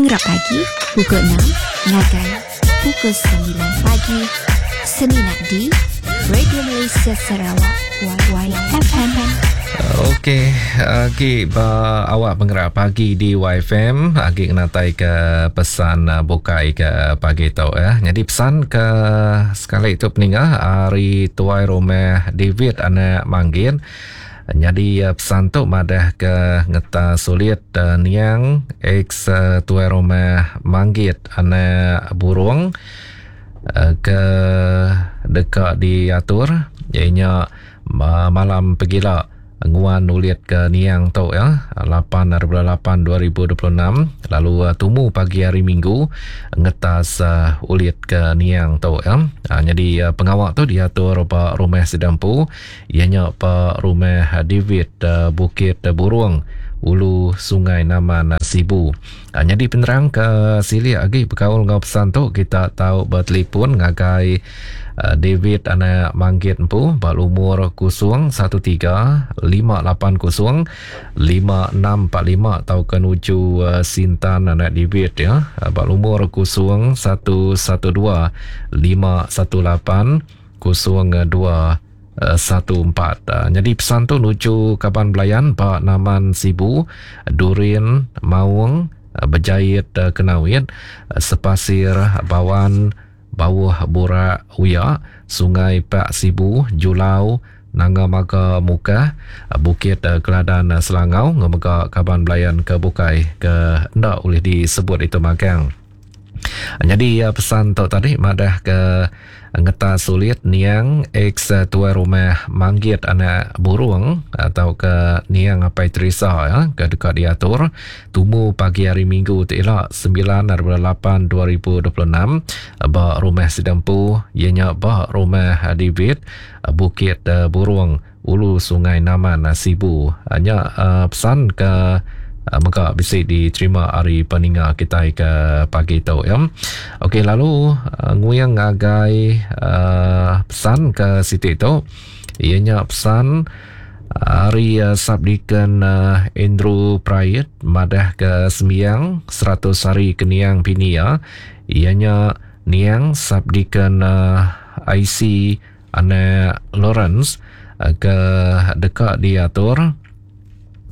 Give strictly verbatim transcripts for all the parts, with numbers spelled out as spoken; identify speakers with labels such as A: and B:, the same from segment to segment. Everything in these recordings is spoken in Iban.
A: Pengerap pagi pukul enam ngagai pukul semilan pagi semina di Radio Malaysia Sarawak Y F M.
B: Okey, agi ba awak pengerap pagi di Y F M, agi ngenatai ke pesan bukai ke pagi tu ya. Jadi pesan ke sekali tu peningah hari tuai rumah David anak Manggin. Jadi pesan tu madah ke ngeta sulit uh, niang ex uh, tuai rumah Manggit anak burung uh, ke dekat diatur ianya malam pegila nguan ulit ke niang tu ya lapan lapan dua ribu dua puluh enam lalu uh, tumu pagi hari Minggu ngetas uh, ulit ke niang tu ya. Ha, jadi uh, pengawak tu diatur ba rumah Sidampu ianya ba rumah David uh, Bukit Burung Ulu Sungai Naman Sibu. Ha, jadi penerang ke silik lagi berkaul dengan pesan tu kita tahu bertelefon ngagai uh, David anak Manggit empu ba umur kosong satu tiga lima lapan kosong lima enam empat lima atau ke nuju uh, Sintan anak David ya ba umur kosong satu satu dua lima satu lapan kosong dua satu empat. Jadi pesan tu nuju kaban belayan Pak Naman Sibu, Durin, Maung, Berjait Kenawit, Sepasir, Bawan, Bawah Burak Uya, Sungai Pak Sibu, Julau, Nanga Maga Mukah, Bukit Keladan Selangau, ngemega kaban belayan ke Bukai ke ndak boleh disebut itu magang. Jadi pesan tu tadi madah ke ngeta sulit niang ex tuai rumah Manggit anak burung atau ke niang Apai Teresa ya ke dekat diatur tumu pagi hari Minggu tu elak sembilan lapan dua ribu dua puluh enam ba rumah Sidampu ianya ba rumah David Bukit Burung Ulu Sungai Naman Sibu. Hanya pesan ke maka bisa diterima hari peninga kita ke pagi tu ya. Okey, lalu uh, nguyang ngagai uh, pesan ke situ tu ianya pesan hari uh, Sabdikan uh, Andrew Prayet madah ke sembiang seratus hari keniang pinia ianya niang Sabdikan uh, I C anak Lawrence uh, ke dekat diatur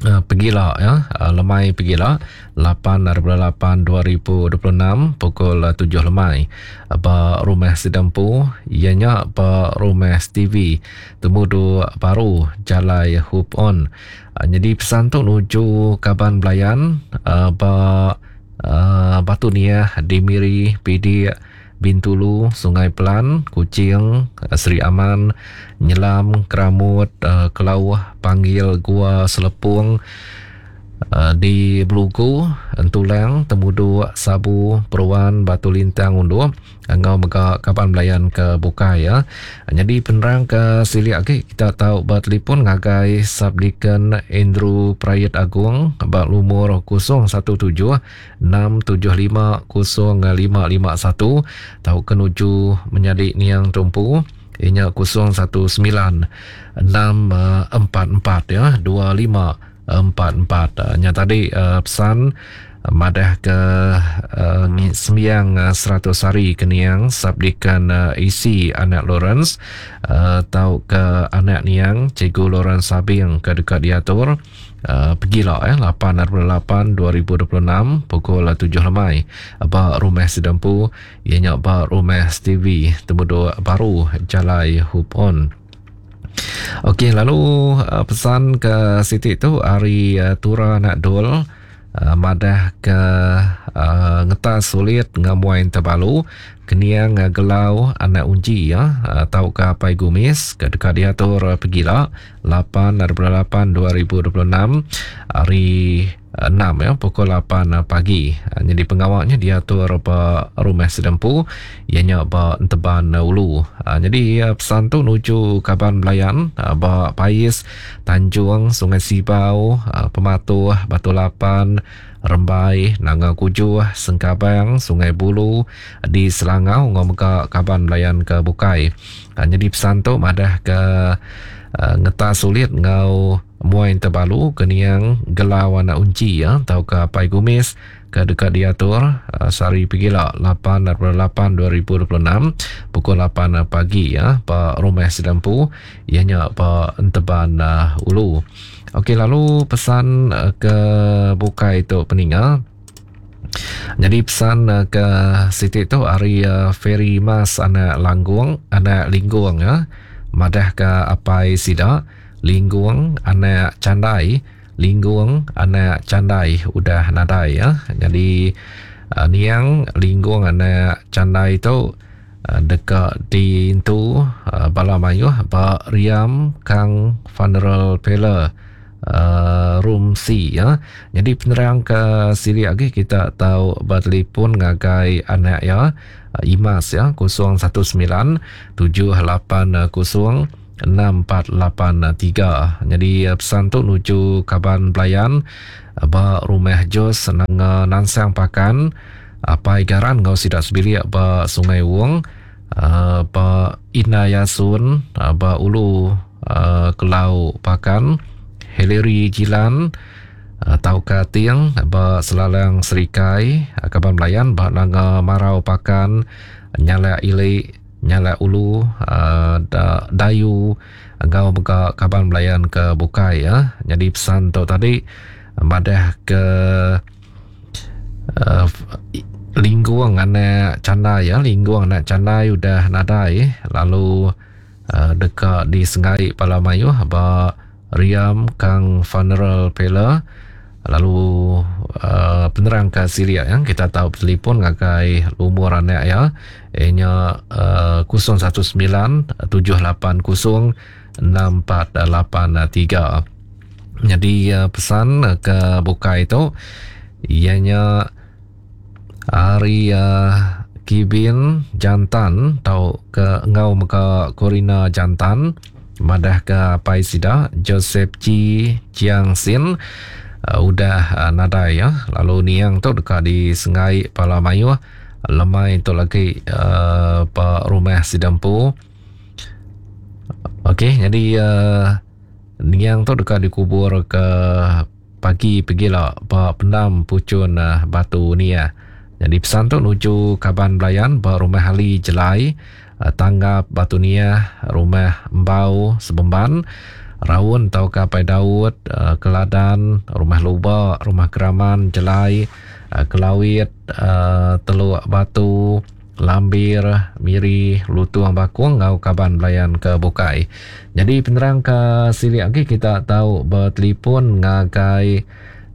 B: Uh, pegila ya, uh, lemai pegila lapan lapan dua ribu dua puluh enam pukul tujuh lemai ba rumah Sidampu ianya ba rumah Stevie Temudu Baru Jalai Hoop On. Uh, jadi pesan tu nuju kaban belayan uh, ba uh, Batu Niah di Miri P D Bintulu, Sungai Pelan, Kuching, Seri Aman, Nyelam, Keramut, Kelauh, Panggil, Gua Selepung, di Belugu, Entulang, Temudu, Sabu, Peruan, Batu Lintang, Undup, ngau mega kaban belayan ke Bukai ya. Jadi penerang ke silik lagi kita tahu bertelefon ngagai Sabdikan Andrew Prayet Agung bak lumur kosong satu tujuh enam tujuh lima kosong lima lima satu tahu kenuju menjadi niang tumpu inya kosong satu sembilan enam empat empat ya dua lima empat empat. Nya tadi uh, pesan madah ke uh, sembiang uh, seratus hari keniang Sabdikan uh, A C anak Lawrence uh, tau ke anak niang Cikgu Lawrence Sabing ke dekat diatur uh, pergilah eh lapan lapan dua ribu dua puluh enam pukul tujuh lemai ba rumah Sidampu ianya ba rumah Stevie Temudu Baru Jalai Hupon. Okey, lalu uh, pesan ke Siti tu hari uh, Tura Nak Dul uh, madah ke uh, ngetas sulit ngamuain terbalu keniang uh, gelau anak unji ya uh, tau ke Apai Gumis ke dekat diatur uh, pegila lapan lapan dua ribu dua puluh enam hari enam ya pukul lapan pagi. Jadi pengawaknya diatur ba rumah Sedempu ianya ba Enteban Ulu. Jadi pesan tu nuju kaban belayan ba Pais, Tanjung, Sungai Sibau, Pematuh, Batu Lapan, Rembai, Nanga Kujuh, Sengkabang, Sungai Bulu di Selangau ngomega kaban belayan ke Bukai. Jadi pesan tu madah ke ngeta sulit ngau Muai Tebalu Keniang Gelau Anak Unci ya tau ke Apai Gumis ke dekat diatur uh, sehari pegila lapan lapan dua ribu dua puluh enam pukul lapan pagi ya ba rumah Sidampu ianya ba Enteban uh, Ulu. Okey, lalu pesan uh, ke bukai tu peninga. Jadi pesan uh, ke siti tu hari uh, Ferry Mas anak Langgung, anak Linggung ya. Madah ke apai sida Linggung anak Candai, Linggung anak Candai udah nadai ya. Jadi uh, niang Linggung anak Candai tu uh, dekat diintu uh, bala mayuh ba Riam Kang Funeral Parlor uh, Room C ya. Jadi penerang ke siri lagi kita tahu bertelefon ngagai anak ya Imas ya kosong satu sembilan tujuh lapan kosong enam empat lapan tiga. Jadi pesan tu nuju kaban pelayan ba rumah Jos nang Nansang Pakan Apai Garan ngau sidak sebilik ba Sungai Wong ba Ina Yasun ba Ulu Kelau Pakan Hillary Jilan Tauka Ting ba Selalang Serikai kaban pelayan ba Nanga Marau Pakan Nyalak Ili Nyalak Ulu uh, da, Dayu ngau mega kaban pelayan ke bukai ya. Jadi pesan tu tadi madah ke uh, Linggung anak Candai ya, Linggung anak Candai udah nadai lalu uh, dekat di Sengai Palamayuh ba Riam Kang Funeral Parlor. Lalu uh, penerang ke Syria yang kita tahu telefon ngagai umur anak ya ianya uh, kosong satu sembilan tujuh lapan kosong enam empat lapan tiga. Jadi uh, pesan ke bukai itu ianya hari uh, Kibin Jantan tau ke ngau mega Corina Jantan madah ke Pai Sida Joseph G Chiang Sin Uh, udah uh, nadai ya. Lalu niang tu dekat di Sengai Palamayuh lemai tu lagi uh, pak rumah Sidampu. Okey, jadi uh, niang tu dekat dikubur ke pagi pergilah pak pendam pucun uh, batu ni ya. Jadi pesan tu nuju kaban belayan ba rumah Ali Jelai uh, tanggap batu nia rumah Embau Sebemban Raun tau ka Pai Daud, uh, Keladan, Rumah Lubak, Rumah Keraman, Jelai, uh, Kelawit, uh, Teluk Batu, Lambir, Miri, Lutuang Bakung ngau kaban belayan ke Bukai. Jadi penerang ke silik lagi kita tahu bertelefon ngagai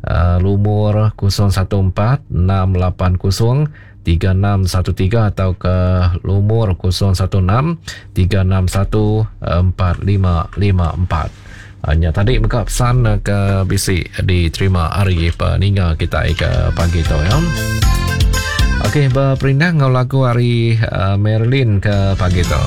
B: uh, lumur kosong satu empat enam lapan kosong tiga enam satu tiga atau ke lumur kosong satu enam tiga enam satu empat lima lima empat. Hanya tadi mega pesan ke bisi diterima hari peninga kita ke pagi tu ya. Okey, berperindang ngau lagu hari uh, Marilyn ke pagi tu.